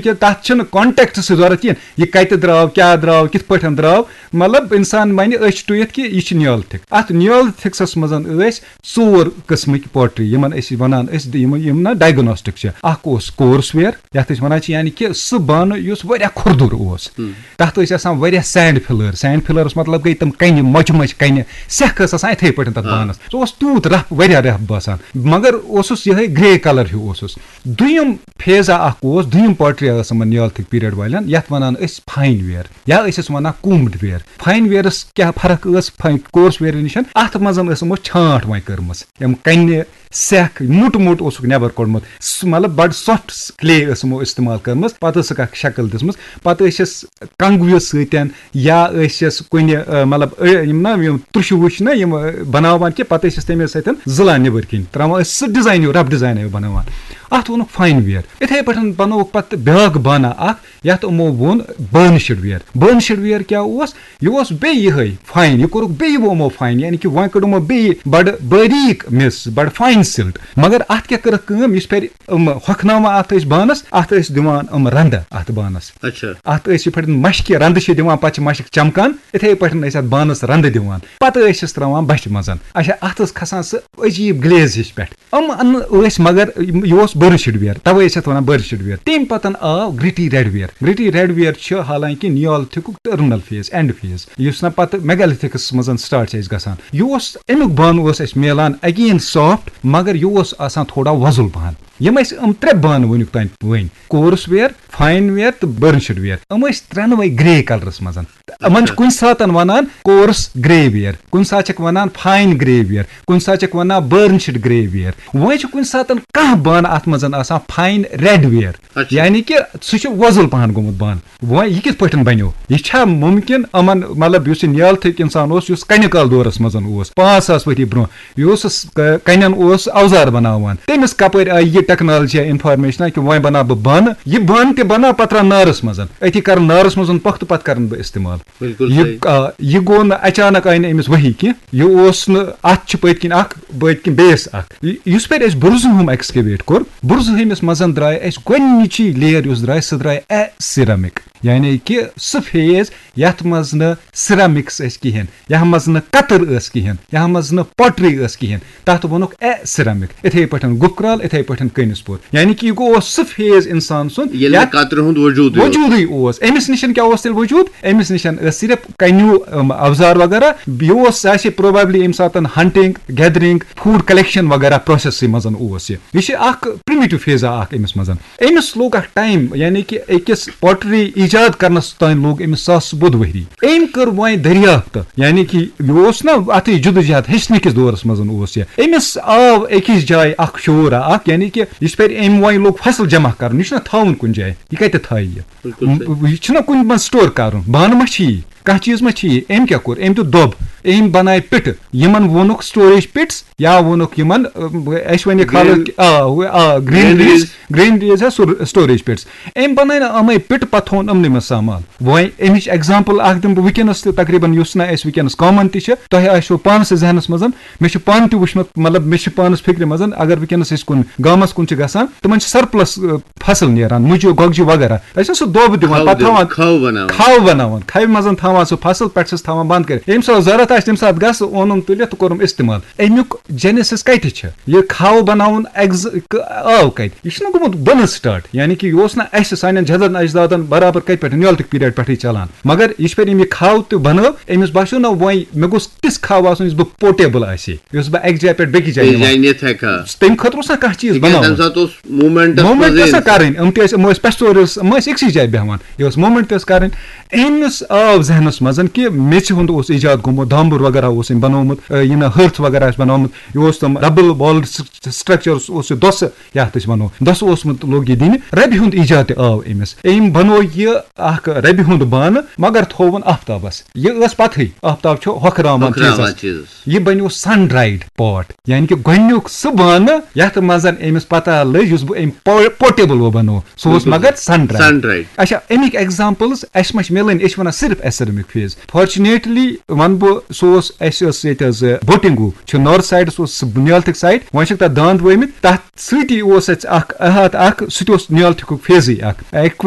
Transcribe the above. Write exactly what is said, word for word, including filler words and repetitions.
کہِ تَتھ چھُنہٕ کانٹیکٹ سۭتۍ ضوٚرَتھ کِہیٖنۍ، یہِ کَتہِ درٛاو، کیٛاہ درٛاو، کِتھ پٲٹھۍ درٛاو۔ مطلب، اِنسان وَنہِ أچھ ٹُوِتھ کہِ یہِ چھُ نیولتھک۔ اَتھ نیولتھکسَس منٛز ٲسۍ ژور قٕسمٕکۍ پوٹری، یِمَن أسۍ وَنان ٲسۍ، یِم یِم نہ ڈایگنوسٹک چھِ۔ اَکھ اوس کورس ویئر، یَتھ أسۍ وَنان چھِ، یعنی کہِ سُہ بانہٕ یُس واریاہ کھُردُر اوس۔ تَتھ ٲسۍ آسان واریاہ سینڈ فِلٲرٕس۔ سینڈ فِلٲرٕس مطلب گٔے تِم کَنہِ، مۄچہِ مۄچہِ کَنہِ، سٮ۪کھ ٲس آسان یِتھَے پٲٹھۍ تَتھ بانَس۔ سُہ اوس تیوٗت رَف، واریاہ رَف باسان، مگر اوسُس یِہوٚے گرے کلر ہیوٗ اوسُس۔ دوٚیُم فیزا اَکھ اوس، دوٚیُم پوٹری ٲس یِمَن نیولتھک پیریڈ والٮ۪ن، یَتھ وَنان ٲسۍ فاین ویئر یا ٲسۍ اَسہِ وَنان کومڈ ویئر۔ فاین ویئرَس کیٛاہ فرق ٲس فاین، کورس ویئر نِش؟ اَتھ منٛز ٲس یِمو چھانٛٹ وۄنۍ کٔرمٕژ، یِم کَنہِ، سٮ۪کھ، موٚٹ موٚٹ اوسُکھ نٮ۪بر کوٚڑمُت۔ سُہ، مطلب، بڑٕ سافٹ کلے ٲس یِمو استعمال کٔرمٕژ۔ پتہٕ ٲسٕکھ اکھ شکل دِژمٕژ۔ پتہٕ ٲسۍ أسۍ کنگوِ سۭتۍ یا ٲسۍ أسۍ کُنہِ، آ، مطلب، آ، یِم نا یِم ترٛشہِ وُچھ نا یِم، آ، بناوان کہِ پتہٕ ٲسۍ أسۍ تَمے سۭتۍ زٕلان نیبر کِنۍ، تراوان ٲسۍ سُہ ڈیزاین ہیوٗ، رف ڈیزاین ہیوٗ بناوان۔ اتھ ووٚنُکھ فاین ویئر۔ اِتھے پٲٹھۍ بنووُکھ پتہٕ بیاکھ بانہ اکھ، یتھ یِمو ووٚن برنشڈ ویئر۔ برنشڈ ویئر کیٛاہ اوس؟ یہِ اوس بیٚیہِ یِہوٚے فاین، یہِ کوٚرُکھ بیٚیہِ یِمو فاین، یعنی کہِ وۄنۍ کٔڑ یِمو بیٚیہِ بڑٕ باریٖک مِس، بڑٕ فاین سِلٹ۔ مگر اَتھ کیٛاہ کٔرٕکھ کٲم؟ یُس پھِرِ یِم ہۄکھناوان اَتھ ٲسۍ بانَس، اَتھ ٲسۍ دِوان یِم رَندٕ اَتھ بانَس۔ اچھا۔ اَتھ ٲسۍ یِتھ پٲٹھۍ مَشکہِ رَندٕ چھِ دِوان، پَتہٕ چھِ مَشٕک چَمکان، یِتھَے پٲٹھۍ ٲسۍ اَتھ بانَس رَندٕ دِوان۔ پَتہٕ ٲسۍ أسۍ ترٛاوان بَچھِ منٛز۔ اچھا، اَتھ ٲس کھَسان سُہ عجیٖب گلیز ہِش پٮ۪ٹھ۔ یِم اَنہٕ ٲسۍ، مگر یِم، یہِ اوس برنشڈ ویئر، تَوَے ٲسۍ اَتھ وَنان برنشڈ ویئر۔ تَمہِ پَتَن آو گرٛٹی ریڈ ویئر۔ گرٛٹی ریڈ ویئر چھِ حالانکہ نیولتھکُک ٹٔرمِنل فیز، اینڈ فیز، یُس نہ پَتہٕ میگالتھکس منٛز سٹارٹ چھِ اَسہِ گژھان۔ یہِ اوس، اَمیُک بانہٕ اوس اَسہِ میلان اگین سافٹ، مگر یہِ اوس آسان تھوڑا وۄزُل پَہَن۔ یِم اَسہِ یِم ترٛےٚ بانہٕ وٕنیُک تام وٕنۍ، کورس ویئر، فاین ویئر تہٕ برنشڈ ویئر، یِم ٲسۍ ترٛٮ۪نوَے گرے کلرس منٛز۔ یِمن چھِ اچھا۔ کُنہِ ساتن ونان کورس گرے ویئر، کُنہِ ساتہٕ چھِکھ ونان فاین گرے ویئر، کُنہِ ساتہٕ چھِکھ ونان برنشڈ گرے ویئر۔ وۄنۍ چھُ کُنہِ ساتن کانٛہہ بانہٕ اتھ منٛز آسان فاین ریڈ ویئر، اچھا۔ یعنی کہِ سُہ چھُ وۄزُل پہن گوٚمُت بانہٕ۔ وۄنۍ یہِ کِتھ پٲٹھۍ بنیو؟ یہِ چھا مُمکِن یِمن، مطلب، یُس یہِ نیالتھک انسان اوس، یُس کنہِ کال دورس منٛز اوس، پانٛژھ ساس ؤری برونٛہہ، یہِ اوس س-، ک-، کنٮ۪ن اوس اوزار بناوان، تٔمِس کپٲرۍ آیہِ یہِ ٹیکنالوجی یا انفارمیشن کہِ وۄنۍ بناو بہٕ بانہٕ، یہِ بانہٕ تہِ بناو پتہٕ تراو نارس منٛز، أتی کرٕ نارس منٛز پۄختہٕ، پتہٕ کرن بہٕ استعمال۔ بالکل یہِ، صحیح۔ آ، یہِ گوٚو نہٕ اچانک، آیہِ نہٕ أمِس ؤہی کینٛہہ۔ یہِ اوس نہٕ، اَتھ چھِ پٔتۍ کِنۍ اکھ، بٔتۍ کِنۍ بیس اکھ۔ یہِ، یُس پٮ۪ٹھ أسۍ برزہوم excavate کوٚر، برزہوم منٛز درٛاے اَسہِ گۄڈٕنِچی layer یُس درٛاے، سۄ درٛاے اے سیرامک، یعنی کہِ سُہ فیز یَتھ منٛز نہٕ سیرامکس ٲسۍ کِہیٖنۍ، یَتھ منٛز نہٕ کتٕر ٲس کِہیٖنۍ، یَتھ منٛز نہٕ پوٹری ٲس کِہیٖنۍ، تَتھ ووٚنُکھ اے سیرامک۔ اِتھَے پٲٹھۍ گُپکرال، اِتھَے پٲٹھۍ کٔنِس پوٗر۔ یعنی کہِ یہِ گوٚو اوس سُہ فیز اِنسان سُنٛد ییٚلہِ نہٕ یَتھ کترِ ہُنٛد وجوٗدٕے اوس۔ وجوٗدٕے اوس۔ أمِس نِش کیٛاہ اوس تیٚلہِ وجوٗد؟ أمِس نِش ٲسۍ صرف کنیو، ام، اوزار وغیرہ۔ یہِ اوس، سُہ آسہِ probably ییٚمہِ ساتہٕ ہنٹنگ، گیدرنگ، فوڈ کلیکشن وغیرہ پروسیسٕے منٛز اوس یہِ۔ یہِ چھِ اکھ پریمیٹو فیزا اکھ أمِس منٛز۔ أمِس لوٚگ اکھ ٹایم، یعنی کہِ أکِس پوٹری ایجاد کرنس تام لوٚگ أمِس ساس بوٚد ؤری۔ أمۍ کٔر وۄنۍ دٔریافت، یعنی کہِ یہِ اوس نہ اتھٕے جدوجہد ہیٚچھنہٕ کِس دورس منٛز اوس یہِ۔ أمِس آو أکِس جایہِ اکھ شعور اکھ، یعنی کہِ یہِ چھُ پَرِ أمۍ وۄنۍ لوٚگ فصل جمع کرُن، یہِ چھُنہ تھاوُن کُنہِ جایہِ، یہِ کتہِ تھایہِ یہِ؟ بالکل صحیح۔ م-، یہِ چھُنہ کُنہِ منٛز سٹور کرُن، بانہٕ ما چھِ یی، کانٛہہ چیٖز ما چھِ یی؟ أمۍ کیٛاہ کوٚر؟ أمۍ دیُت دۄب، أمۍ بنایہِ پِٹہٕ، یِمن ووٚنُکھ سٹوریج پِٹس یا ووٚنُکھ یِمن، ٲ، اَسہِ وَنہِ کھالو گرین-، کہِ، آ، آ، گرینریز، گرینریز۔ گرینریز یا سُر-، سٹوریج پِٹس۔ أمۍ بنایہِ نہ یِمے پِٹہٕ، پتہٕ تھوٚوُن یِمنٕے منٛز سامان۔ وۄنۍ اَمِچ ایگزامپل اکھ دِمہٕ بہٕ وٕنکیٚنس تہِ تقریباً، یُس نہ اَسہِ وٕنکیٚنس کامن تہِ چھِ، تۄہہِ آسیو پانس سۭتۍ ذہنس منٛز، مےٚ چھُ پانہٕ تہِ وٕچھمُت، مطلب، مےٚ چھِ پانس فِکرِ منٛز، اگر وٕنکیٚنس أسۍ کُن گامس کُن چھِ گژھان، تِمن چھِ سرپلس، ٲ، فصل نیران، مُجہِ، گۄگجہِ وغیرہ۔ تَتہِ چھِ سُہ دۄب دِوان، کھَو پَتہٕ دِوان، تھاوان کھَو بَناوان۔ کھَو بَناوان، کھَوِ منٛز تھاوان سُہ فصل، پٮ۪ٹھٕ چھِس تھاوان بنٛد کٔرِتھ۔ ییٚمہِ ساتہٕ ضوٚرَتھ آسہِ، تَمہِ ساتہٕ گژھ، اوٚنُم تُلِتھ تہٕ کوٚرُم استعمال۔ اَمیُک genesis کَتہِ چھِ؟ یہِ کھَو بَناوُن ایگز-، ک-، آو کَتہِ؟ یہِ چھُنہ گوٚمُت بۄنہٕ start، یعنی کہِ یہِ اوس نہٕ اَسہِ سانٮ۪ن جدن اجدادن برابر کَتہِ پٮ۪ٹھ، نیولتھک پیریڈ پٮ۪ٹھٕے چلان۔ مگر یہِ چھُ پٮ۪ٹھ أمۍ یہِ کھَو تہِ بَنٲو، أمِس باسیو نہ وۄنۍ مےٚ گوٚژھ تِژھ کھَو آسُن یُس بہٕ portable آسہِ ہے، یُس بہٕ اَکہِ جایہِ پٮ۪ٹھ بیٚکِس جایہِ بیٚیِس نِوان۔ جایہِ نِتھ ہٮ۪کہٕ ہا۔ تَمہِ خٲطرٕ اوس نہ کانٛہہ چیٖز تِکیٛازِ بَناوُن۔ تَمہِ ساتہٕ اوس موٗمٮ۪نٛٹ موٗمٮ۪نٛٹ ٲس نہ اِنسان۔ کَرٕنۍ، یِم تہِ ٲسۍ، یِم ٲسۍ پٮ۪ستورِس، یِم ٲسۍ أکسٕے جایہِ بیٚہوان۔ یہِ اوس موٗمٮ۪نٛٹ تہِ ٲس کَرٕنۍ۔ أمِس آو ذہنَس منٛز کہِ میٚژِ ہُنٛد اوس ایجاد گوٚمُت، دامبُر وغیرہ اوس أمۍ بَنومُت، یہِ نہ ہرتھ وغیرہ آسہِ بَنومُت، یہِ اوس تِم double walled structures اوس یہِ دۄسہٕ، یَتھ أسۍ وَنو، دۄسہٕ اوسمُت، لوٚگ یہِ دِنہِ۔ رَبہِ ہُنٛد ایجاد تہِ آو أمِس۔ أمۍ بَنوو یہِ اَکھ رَبہِ ہُنٛد بانہٕ، مگر تھووُن آفتابَس۔ یہِ ٲس پَتہٕے، آفتاب چھُ ہۄکھراوان ہۄکھراوان چیٖزَس۔ چیٖزَس۔ یہِ بنیو sun dried pot، یعنی کہِ گۄڈٕنیُک سُہ بانہٕ یَتھ منٛز أمِس پتہ لٔج، یُس بہٕ أمۍ پو-، portable وۄنۍ بَنوو، سُہ اوس بِلکُل مگر صحیح۔ sun dried۔ Sun dried۔ اچھا، اَمِکۍ examples اَسہِ ما چھِ مِلٕنۍ؟ أسۍ چھِ وَنان صرف acetylenic phase۔ Fortunately وَنہٕ بہٕ، سُہ اوس، اَسہِ ٲس ییٚتہِ حظ، بوٹنگو چھُ نارتھ سایڈَس اوس سُہ نیالتھک سایڈ، وۄنۍ چھِکھ تَتھ داند وٲمٕتۍ، تَتھ سۭتی اوس اَسہِ اَکھ احاطہٕ اَکھ، سُہ تہِ اوس نیالتھکُک فیزٕے اَکھ، اَکوے